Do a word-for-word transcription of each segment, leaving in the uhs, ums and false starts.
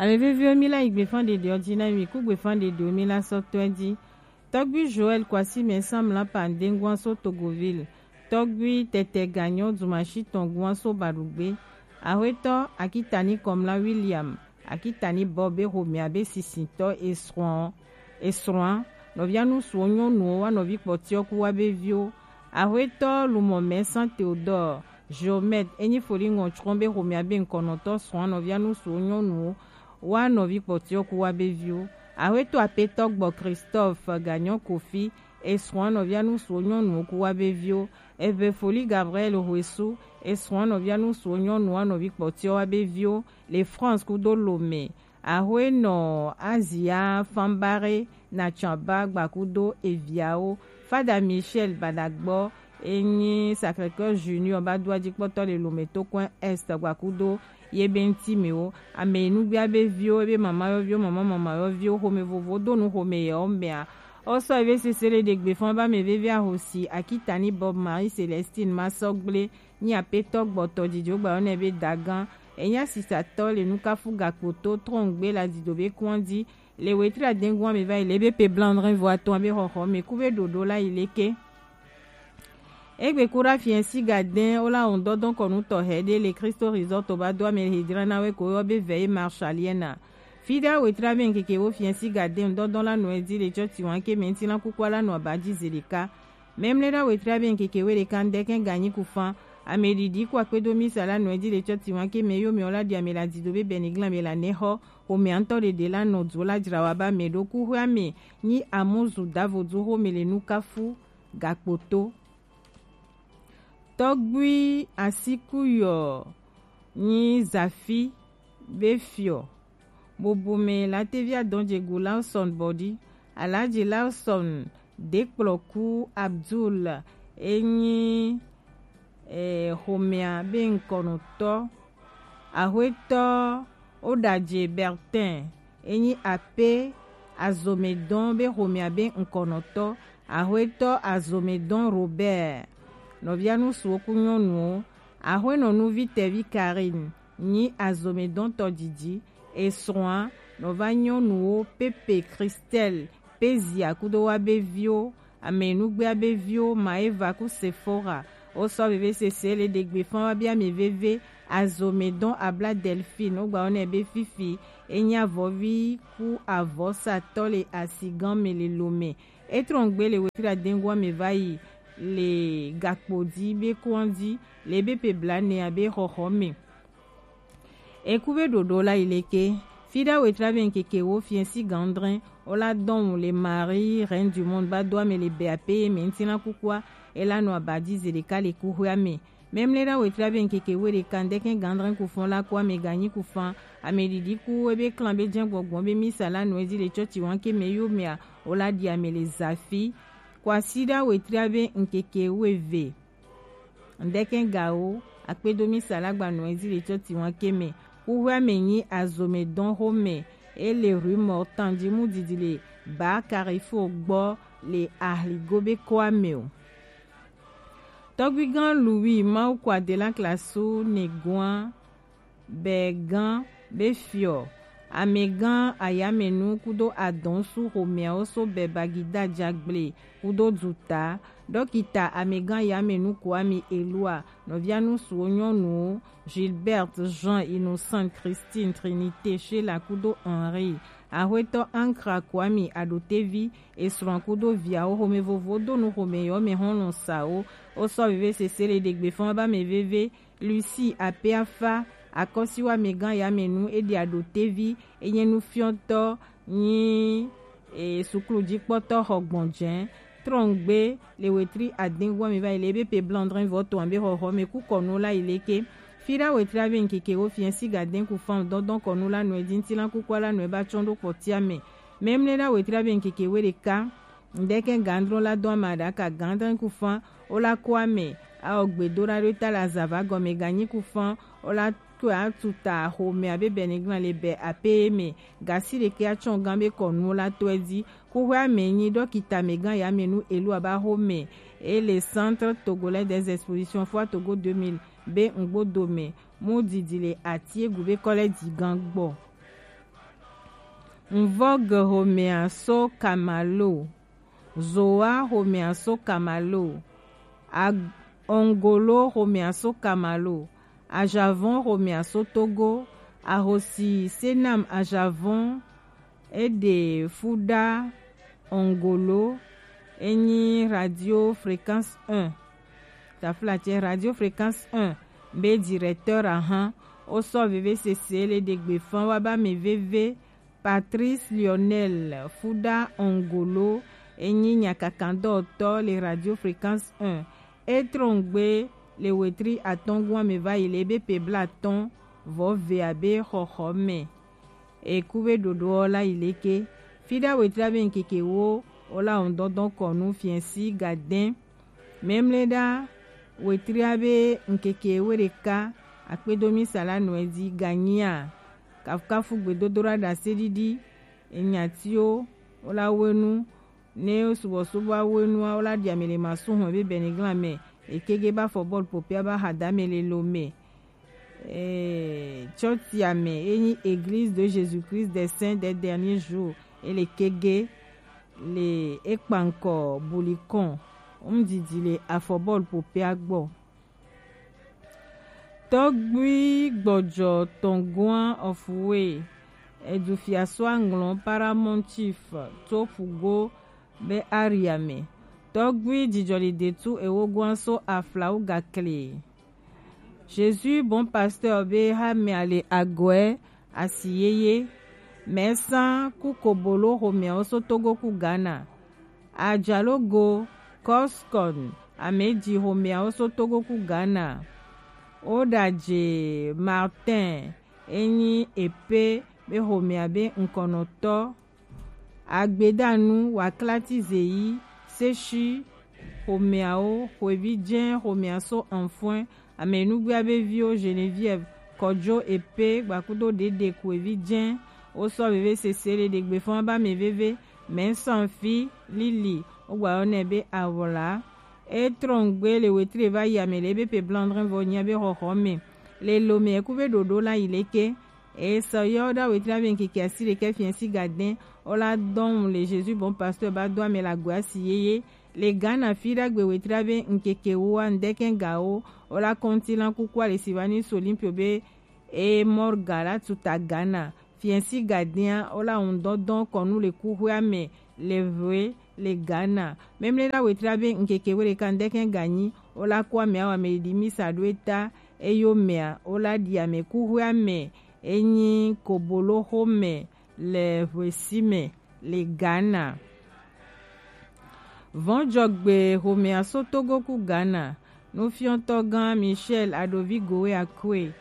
Ame veviwo, mi la yi gbefan ɖeɖewo ji na mi, ku gbefan ɖeɖewo mi la sɔ tɔe ji. Tɔgbui Joël Kwasi Mɛnsan Mla Pandengua so Togoville. Tɔgbui Tɛtɛ Ganyo Dumashi Tɔngua so Baɖugbe. Axwetɔ Akitani Kɔmla William, Akitani Bob be xomɛ abe sisintɔ esrɔ̃, esrɔ̃a, nɔvia nusuwo nyɔnuwo wa nɔvi kpɔtiɔ ku wa be viwo. Axwetɔ Lumɔ Mɛnsan Théodore, Geomètre, enyi foli ŋɔ tsrɔ̃ be xomɛ abe ŋkɔnɔtɔ srɔ̃a nɔvia nusuwo nyɔnuwo wa nɔvi kpɔtiɔ ku wa be viwo. Axwetɔ Apetɔ Gbɔ Christophe Ganyo Kofi, esrɔ̃a nɔvia nusuwo nyɔnuwo ku wa be viwo. Eve foli Gabriel Hoesu, esrɔ̃a nɔvia nusuwo nyɔnuwo wa nɔvi kpɔtiɔ wa be viwo. Le France kudo Lomé. Axwenɔ Azia Fanbare Natsɔaba gbakudo eviawo. Fada Michel Badagbɔ enyi Sacré-Cœur Junior ba do ajikpɔtɔ le Lomé to kɔn Est gbakudo ye be ŋti mɛ wo. Ame nugbia be viwo, ebe mama yɔviwo, mama mama yɔviwo, xomɛ vovo do nu xomɛ yɛ wo mɛa. Osɔ ebe sese le ɖegbe fɔn ba mɛ veve ahosi Akitani Bob Marie Célestine Masɔgble nyi apetɔ gbɔtɔ dzidzo gba yɔ nɛ be dagan. Enya sisatɔ le nukafu gakpoto trɔngbe la dido be kɔndi. Le wetri adengua me va yi le be pe blanc dre vo atɔn be xɔxɔ me ku be ɖoɖo la yi leke. Egbe ku ɖa fiɛnsi gadɛn wo la wɔn dɔdɔn kɔnu tɔxɛ ɖe le Cristo Resort ba do ame hedra na we ko yɔ be veillée marshallienne. Fi ɖa wetri abe ŋkeke wo fiɛnsi gadɛn dɔdɔn la nɔ edi le tsɔ tiwan ke mɛ ŋti la kukua la nɔ aba ji ze ɖeka. Memle ɖa wetri abe ŋkeke we ɖeka ŋdɛkɛ ganyi kufan. Ame ɖiɖi ku akpedo misa la nɔ edi le tsɔ tiwan ke mɛ yo mɛ wo la ɖi ame la dido be bɛniglan me la nɛ xɔ. Xomɛ ŋtɔ ɖeɖe la nɔ dzo la dzra wa ba mɛ ɖo kuxwea me nyi amuzu davo du xomɛ le nukafu gakpoto. Tɔgbui Asikuyɔ nyi Zafi be fiɔ. Bobome la tevi adɔn dzegu Lawson bɔdi. Alaji Lawson dekplɔku Abdul enyi eh, xomɛa be ŋkɔnɔtɔ. Axwetɔ Oɖadze Bertin enyi ape azomedɔn be xomɛa be ŋkɔnɔtɔ. Axwetɔ azomedɔn Robert nɔvia nusuwo ku nyɔnuwo. Axwenɔ nuvi tɛvi Karine nyi azomedɔn tɔdidi. Esrɔ̃a nɔva nyɔnuwo Pepe Christelle Pezia kudo wa be viwo, ame nugbea be viwo Maeva ku Sephora. Wo sɔ veve sese le ɖegbe fan wa be ame veve azomedɔn abla Delphine wo gba wo nɛ be fifi enya avɔvi ku avɔsatɔ le asigan me le Lomé. Etrɔngbe le wetri adengua me va yi le gakpo di be kɔndi le be pe bla nɛ abe xɔxɔ me. Eku be ɖoɖo la yi leke. Fi ɖa wetri abe ŋkeke wo fiɛnsi gandrɛn wo la dɔn le Marie Reine du Monde ba do ame le be ape ye mɛ ŋti la kukua e la nɔ aba di ze ɖeka le kuxwea me. Memle ɖa wetri abe ŋkeke we ɖeka ŋdɛkɛ gandrɛn kufan la ku ame ganyi kufan. Ame ɖiɖi ku ebe klan be jɛn gbɔgbɔ be misa la nɔ edi le tsɔtsi wanke mɛ yo mɛa wo la ɖi ame le Zafi. Kwasi ɖa wetri abe ŋkeke we ve. Ŋdɛkɛ gawo akpedo misa la gba nɔ ezi le tsɔtsi wanke mɛ. Kuxwea me nyi azome dɔn xomɛ. E le rue Mortan ji mu didi le ba Carrefour gbɔ le Ahligo be kɔa me o. Tɔgbigan Louis Mawu kwa de la klasu ne gɔa. Bɛgã be fiɔ, amɛgã ayamɛnu kudo adɔnsu xomɛawo so bɛ bagida jagble kudo duta. Dɔkita amɛgã ayamɛnu Kwame Elua, nɔvia nusuwo nyɔnuwo Gilberte, Jean, Innocente, Christine, Trinité, Sheila kudo Henri. Axwetɔ Ankra Kwame Adotevi, esrɔ̃ kudo viawo xomɛ vovo do nu xomɛ yɔ mɛ xɔlɔ̃ sawo. Wo sɔ veve sese le ɖegbe fɔn ba mɛ veve. Lucie Apeafa, akɔsiwamɛgã yamɛnu, e ɖi Adotevi, e nye nufiɔtɔ, nyi e, suklujikpɔtɔ xɔ gbɔnjɛ. Trɔngbe le wetri adɛn wɔ mi va yi le ebe pe blanc drin vɔ to ambe xɔxɔ me ku kɔnu la yi leke. Fi ɖa wetri abe ŋkeke wo fiɛ si gadɛn ku fan dɔndɔn kɔnu la nɔ edi ŋti la kukua la nɔ eba tsɔn ɖo kpɔtia me. Memle ɖa wetri abe ŋkeke we ɖeka. Ŋdɛkɛ gandro la do ama ɖaka gandrin ku fan wo la ko ame. Awo gbedoɖa ɖo ta la zava gɔme ganyi ku fan wo la ko atuta xomɛ abe bɛniglan le bɛ ape me. Gasi ɖeke atsɔn gan be kɔnu la to edi. Kuxwe ame nyi dɔkita mɛgã yamɛnu elu aba xomɛ. E le Centre Togolais des Expositions Foire Togo deux mille be ŋgbodo me. Mu didi le ati egu be kɔlɛ di gan gbɔ. Mvog xomea so Kamalo, Zoa xomea so Kamalo, Ag-, Ongolo xomea so Kamalo, Ajavon xomea so Togo, Ahosi Senam Ajavon, e ɖe Fuda Ongolo, e nyi Radio Fréquence un. Taflatse Radio Fréquence un be directeur ahan, wo sɔ veve sese le ɖe gbe fan wa ba mɛ veve. Patrice Lionel Fuda Ongolo, e nyi nyakakandɔtɔ le Radio Fréquence un. E trɔngbe le wetri atɔngua mɛ va yi le be pe blatɔn vɔ ve abe xɔxɔ mɛ. Eku be ɖoɖo ɔ la yi leke? Fiɖa wetri abe ŋkeke wo, wo la ŋdɔndɔn kɔnu fiɛsi gadɛn. Mɛmlɛɖa wetri abe ŋkeke we ɖeka akpedo misa la nɔɛ di ganyia. Kafukafu gbedodoɖa ɖase ɖiɖi. Enyatiwo wo la wenu, ne subɔsubɔ awenu a, wo la ɖi ame le masu hɔn be bɛniglan mɛ. Ekege ba fɔ bɔl popia ba hadame le lo mɛ. Eh, tsɔtia mɛ, e nyi Église de Jésus-Christ des Saints des Derniers Jours, e le kege le ekpankɔ bulikɔn ŋdidi le afɔbɔl popea gbɔ. Tɔgbui gbɔjɔ tɔngua ɔfuwe, edu fiaso aŋlɔ Paramount Chief to pugo be aria mɛ. Tɔgbui jijɔli detu ewo gua so aflawu gakle. Jésus Bon Pasteur be ha mɛ ale agɔɛ asi yeye. Mɛ san ku kobolo xomɛawo so Togo ku Ghana. Ajalogo, Coscon, amɛ ji xomɛawo so Togo ku Ghana. Odaje Martin, e nyi epe be xomɛa be ŋkɔnɔtɔ. Agbedanu, Waklati Zeyi, Seshi xomɛawo, Xwevi Jɛn xomɛa so Anfɔin, Amɛnugbea be viwo Geneviève, Kɔjo Epe, gbakudo Dede Xwevi Jɛn, wo sɔ veve sese le ɖegbe fɔn ba mɛ veve, mɛ sanfi Lili, wo gba yɔ nɛ be Awla. E trɔngbe le wetri va yi amɛ le be pe blandrin vɔ nya be xɔxɔ mɛ. Le lo mɛ ku be ɖoɖo la yi leke? E sɔ yɔ da wetri be ŋkeke asi ɖekɛ fiɛ si gadɛn, wo la dɔn le Jésus Bon Pasteur ba do amɛ la gbe asi yeye. Le Ghana fi ɖagbe wetri be ŋkeke wo a ŋdɛkɛn ga wo, wo la kɔnti lan kuku ale si va ni so Olympio be e morga la tuta Ghana. Fiɛ si gadɛn a, wo la ŋdɔndɔn kɔnu le kuxwea mɛ le vwe le Ghana. Mɛmlɛ na wetri be ŋkeke we ɖeka ŋdɛkɛn ga nyi, wo la ku amɛ awa mɛ ɖi misa ɖo eta, eyo mɛa, wo la ɖi amɛ kuxwea mɛ, e nyi kobolo xo mɛ le hwesi mɛ le Ghana. Vɔnjɔgbe xomɛa so Togo ku Ghana. Nufiɔtɔ gã Michel Adovi Gowe Akwe,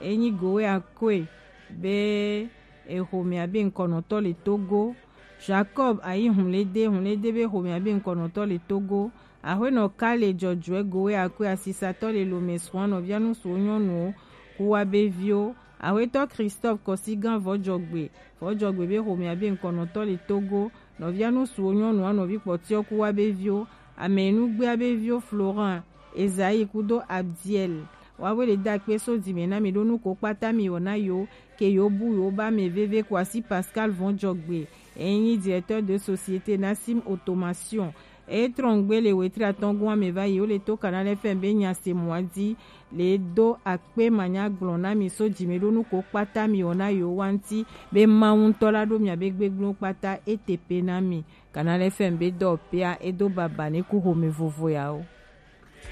e nyi Gowe Akwe be exomɛa be ŋkɔnɔtɔ le Togo. Jacob Ayi Hunlede, Hunlede be xomɛa be ŋkɔnɔtɔ le Togo. Axwenɔ Kale Jɔjɔɛ Gowe Akwe asisatɔ le lomɛ srɔ̃ nɔvia nusuwo nyɔnuwo ku wa be viwo. Axwetɔ Christophe Kɔsigan Vɔjɔgbe, Vɔjɔgbe be xomɛa be ŋkɔnɔtɔ le Togo. Nɔvia nusuwo nyɔnua nɔvi kpɔtiɔ ku wa be viwo. Amɛnugbea be viwo Florent, Esaïe kudo Abdiel. Wa we le da kpe so dime na mi ɖo nu ko kpata mi wɔ na yo, ke yo bu yo ba mɛ veve ko asi Pascal Vɔjɔgbe, e nyi directeur de société Nassim Automation. E trɔngbe le wetri atɔngua mɛ va yi wo le to Canal F M be nya se mɔ a di le do akpe manya gblɔ na mi so dime ɖo nu ko kpata mi wɔ na yo wa ŋti be Mawu ŋtɔ la ɖo mia be gbegblẽ kpata e te pe na mi. Canal F M be dɔ pea e do baba ne ku xome vovo ya o.